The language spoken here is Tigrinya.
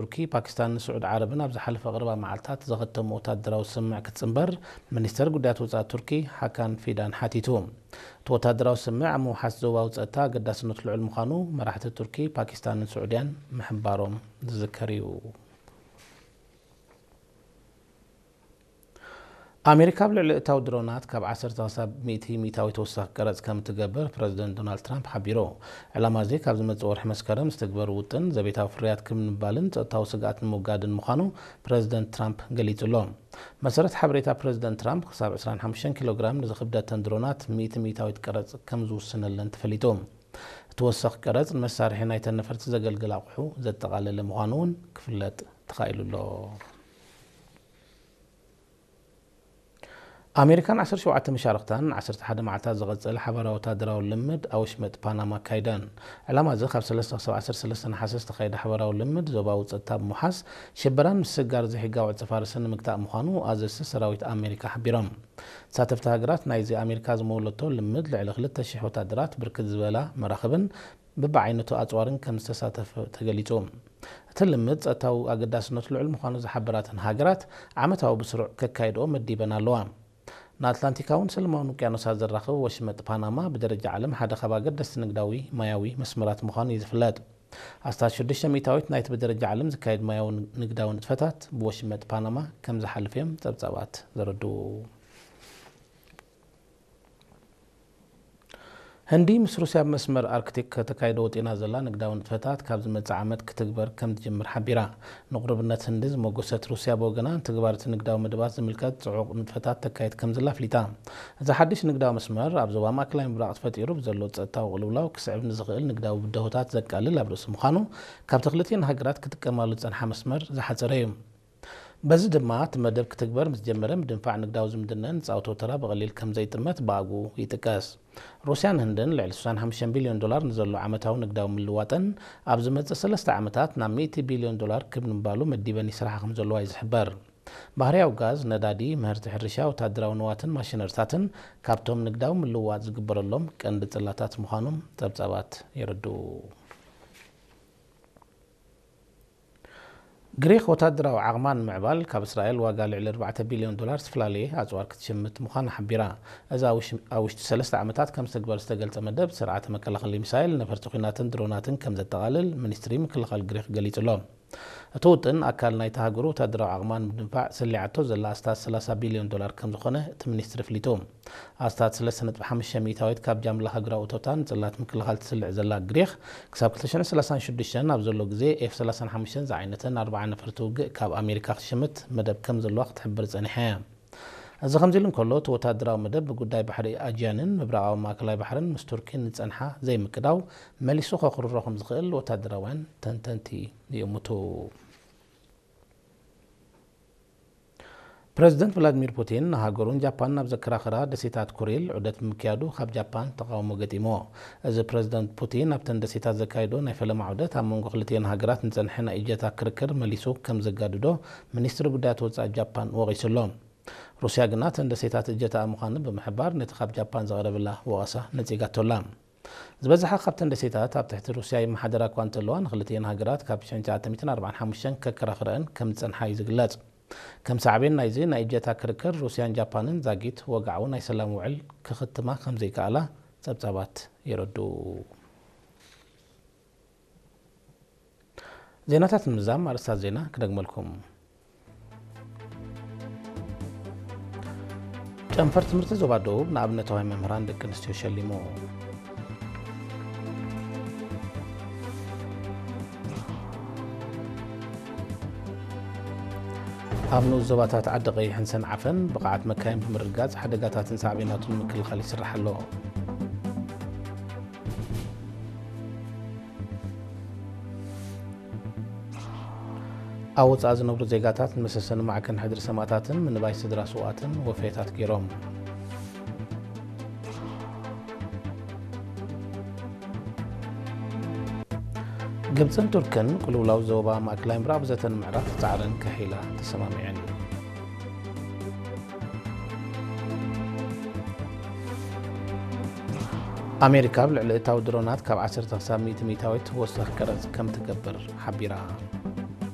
ቱርኪ፣ ፓኪስታንን ስዑድ ዓረብን ኣብ ዝሓለፈ ቅርባ መዓልታት ዘኸተሙ ወታደራዊ ስምምዕ ክትጽንበር ሚኒስተር ጉዳያት ወጻኢ ቱርኪ ሓካን ፊዳን ሓቲቱ። እቲ ወታደራዊ ስምምዕ ኣብ ምውሓስ ዞባዊ ጸጥታ ኣገዳስነቱ ልዑል ምዃኑ መራሕቲ ቱርኪ፣ ፓኪስታንን ስዑድያን ምሕባሮም ዝዝከር እዩ። ኣሜሪካ ኣብ ልዕሊ እታዊ ድሮናት ካብ ዓሰርተ ክሳብ ሚእቲ ሚእታዊ ተወሳኺ ቀረጽ ከም እትገብር ፕረዚደንት ዶናልድ ትራምፕ ሓቢሩ። ዕላማ እዚ ካብ ዝመጽእ ወርሒ መስከረም ዝትግበር ውጥን ዘቤታዊ ፍርያት ክብ ንምባልን ጸጥታዊ ስግኣት ንምውጋድን ምዃኑ ፕረዚደንት ትራምፕ ገሊጹ ኣሎ። መሰረት ሓበሬታ ፕረዚደንት ትራምፕ ክሳብ ዕስራን ሓሙሽተን ኪሎ ግራም ንዝኽብደተን ድሮናት ሚእቲ ሚእታዊት ቀረጽ ከም ዝውስነለን ተፈሊጡ። እቲ ወሳኺ ቀረጽ ንመሳርሒ ናይተን ነፈርቲ ዘገልግል ኣቑሑ ዘጠቓለለ ምዃኑ እውን ክፍለጥ ተኻኢሉ ኣሎ። ኣሜሪካን ዓሰርተ ሸውዓተ መሻርኽታን ዓሰርተ ሓደ መዓልታት ዝቐጸለ ሓባራዊ ወታደራዊ ልምድ ኣብ ወሽመጥ ፓናማ ኣካይደን። ዕላማ እዚ ካብ ሰለስተ ክሳብ ዓሰርተ ሰለስተ ነሓሰ ዝተኻየደ ሓባራዊ ልምድ ዞባዊ ጸጥታ ብምውሓስ ሽበራን ምስግጋር ዘይሕጋዊ ዕጸ ፋርስን ንምግታእ ምዃኑ ኣዘዝቲ ሰራዊት ኣሜሪካ ሓቢሮም። ተሳተፍቲ ሃገራት ናይዚ ኣሜሪካ ዝመወለቶ ልምድ ልዕሊ ክልተ ሽሕ ወታደራት ብርክት ዝበላ መራኽብን ብብዓይነቱ ኣጽዋርን ከም ዝተሳተፈ ተገሊጹ። እቲ ልምድ ጸጥታዊ ኣገዳስነቱ ልዑል ምዃኑ ዝሓበራተን ሃገራት ዓመታዊ ብስሩዕ ከካይድኦ መዲበን ኣለዋ። ንኣትላንቲካውን ሰለማውን ውቅያኖሳት ዘራኽብ ወሽመጥ ፓናማ ብደረጃ ዓለም ሓደ ካብ ኣገደስቲ ንግዳዊ ማያዊ መስመራት ምዃኑ እዩ ዝፍለጥ። ኣስታት ሽዱሽተ ሚእታዊት ናይቲ ብደረጃ ዓለም ዝካየድ ማያዊ ንግዳዊ ንጥፈታት ብወሽመጥ ፓናማ ከም ዝሓልፍ እዮም ጸብጻባት ዘረድኡ። ህንዲ ምስ ሩስያ ኣብ መስመር ኣርክቲክ ከተካይዶ ወጢና ዘላ ንግዳዊ ንጥፈታት ካብ ዝመጽእ ዓመት ክትግበር ከም ትጅምር ሓቢራ። ንቕሩብነት ህንዲ ዝመጎሰት ሩስያ ብወገና፣ ንትግባር እቲ ንግዳዊ መደባት ዝምልከት ጽዑቕ ንጥፈታት ተካይድ ከም ዘላ ኣፍሊጣ። እዚ ሓድሽ ንግዳዊ መስመር ኣብ ዞባ ማእከላይ ምብራቕ ተፈጢሩ ብዘሎ ጸጥታዊ ቅልውላው ክስዕብ ንዝኽእል ንግዳዊ ብድሆታት ዘቃልል ኣብ ርእሲ ምዃኑ፣ ካብቲ ክልቲኤን ሃገራት ክጥቀማሉ ዝጸንሓ መስመር ዝሓጸረ እዩ። በዚ ድማ እቲ መደብ ክትግበር ምስ ጀመረ፣ ምድንፋዕ ንግዳዊ ዝምድነን ዝጻወቶ ተራ ብቐሊል ከም ዘይጥመት ብኣግኡ ይጥቀስ። ሩስያን ህንድን ልዕሊ ስሳን ሓሙሽተን ቢልዮን ዶላር ንዘሎ ዓመታዊ ንግዳዊ ምልዋጠን፣ ኣብ ዝመጽእ ሰለስተ ዓመታት ናብ ሚእቲ ቢልዮን ዶላር ክብ ንምባሉ መዲበን ይስርሓ ከም ዘለዋ እዩ ዝሕበር። ባህርያዊ ጋዝ፣ ነዳዲ፣ ምህርቲ ሕርሻ፣ ወታደራዊ ንዋትን ማሽነሪታትን ካብቶም ንግዳዊ ምልውዋጥ ዝግበረሎም ቀንዲ ጽላታት ምዃኖም ጸብጻባት የረድኡ። ግሪኽ ወታደራዊ ዓቕማ ንምዕባል ካብ እስራኤል ዋጋ ልዕሊ ኣርባዕተ ቢልዮን ዶላር ዝተፈላለየ ኣጽዋር ክትሽምት ምዃና ሓቢራ። እዚ ኣብ ውሽ-፣ ኣብ ውሽጢ ሰለስተ ዓመታት ከም ዝተግበር ዝተገልጸ መደብ፣ ስርዓተ መከላኸሊ ሚሳይል፣ ነፈርቲ ኲናትን ድሮናትን ከም ዘጠቓልል ሚኒስትሪ ምክልኻል ግሪኽ ገሊጹ ኣሎ። እቲ ውጥን ኣካል ናይታ ሃገሩ ወታደራዊ ዓቕማ ንምድንፋዕ ሰሊዓቶ ዘላ ኣስታት ሰላሳ ቢልዮን ዶላር ከም ዝኾነ እቲ ሚኒስትሪ ኣፍሊጡ። ኣስታት ሰለስተ ነጥቢ ሓሙሽተ ሚእታዊት ካብ ጃምላ ሃገራዊ እቶታ ንጽላት ምክልኻል ትስልዕ ዘላ ግሪኽ፣ ክሳብ ክልተ ሽሕን ሰላሳን ሽዱሽተን ኣብ ዘሎ ግዜ ኤፍ ሰላሳን ሓሙሽተን ዝዓይነተን ኣርብዓ ነፈርቲ ውግእ ካብ ኣሜሪካ ክትሽምት መደብ ከም ዘለዋ ክትሕብር ጸኒሓ እያ። እዚ ከምዚ ኢሉ እንከሎ፣ እቲ ወታደራዊ መደብ ብጉዳይ ባሕሪ ኣጂያንን ምብራቓዊ ማእከላይ ባሕርን ምስ ቱርኪን ዝጸንሓ ዘይምቅዳው መሊሱ ከኹርሮ ከም ዝኽእል ወታደራውያን ተንተንቲ ይእምቱ። ፕረዚደንት ቭላድሚር ፑቲን ንሃገሩን ጃፓንን ኣብ ዘከራኽራ ደሴታት ኩሪል ዑደት ብምክያዱ ካብ ጃፓን ተቓውሞ ገጢምዎ። እዚ ፕረዚደንት ፑቲን ኣብተን ደሴታት ዘካየዶ ናይ ፈለማ ዑደት ኣብ መንጎ ክልቲኤን ሃገራት ንጸንሐ ናይ እጀታ ክርክር መሊሱ ከም ዘጋድዶ ሚኒስትሪ ጉዳያት ወጻኢ ጃፓን ወቒሱ ኣሎ። ሩስያ ግና እተን ደሴታት እጀታኣ ምዃነን ብምሕባር ነቲ ካብ ጃፓን ዝቐረበላ ወቐሳ ነጺጋቶ ኣላ። ዝበዝሓ ካብተን ደሴታት ኣብ ትሕቲ ሩስያ ይመሓደራ እኳ እንተለዋ፣ ንክልቲኤን ሃገራት ካብ ሽሕን ትሽዓተ ሚእትን ኣርባዓን ሓሙሽተን ከከራኽረአን ከም ዝጸንሓ እዩ ዝግለጽ። ከም ሳዕቤን ናይዚ ናይ እጀታ ክርክር፣ ሩስያን ጃፓንን ዛጊት ወግዓዊ ናይ ሰላም ውዕል ክኽትማ ከም ዘይከኣላ ጸብጻባት የረድኡ። ዜናታት ንምዝዛም ኣርእስታት ዜና ክደግመልኩም። ጨንፈር ትምህርቲ ዞባ ደቡብ ንኣብነታውያን መምህራን ደቂ ኣንስትዮ ሸሊሙ። ኣብ ንኡስ ዞባታት ዓዲ ቀይሕን ሰንዓፈን ብቕዓት መካይን ብምርግጋጽ ሓደጋታትን ሳዕቤናቱን ንምክልኻል ይስራሕ ኣሎ። ኣብ ወጻኢ ዝነብሩ ዜጋታት ንመሰሰኒ ማዕከን ሕድሪ ሰማእታትን ምንባይ ስድራ ስውኣትን ወፈያታት ገይሮም። ግብጽን ቱርክን ቅልውላው ዞባ ማእከላይ ምብራቕ ብዘተ ንምዕራፍ ጻዕረን ከሐይላ ተሰማሚዐን። ኣሜሪካ ኣብ ልዕሊ እታዊ ድሮናት ካብ ዓሰርተ ክሳብ ሚእቲ ሚእታዊት ወሰኽ ቀረጽ ከም ትገብር ሓቢራ።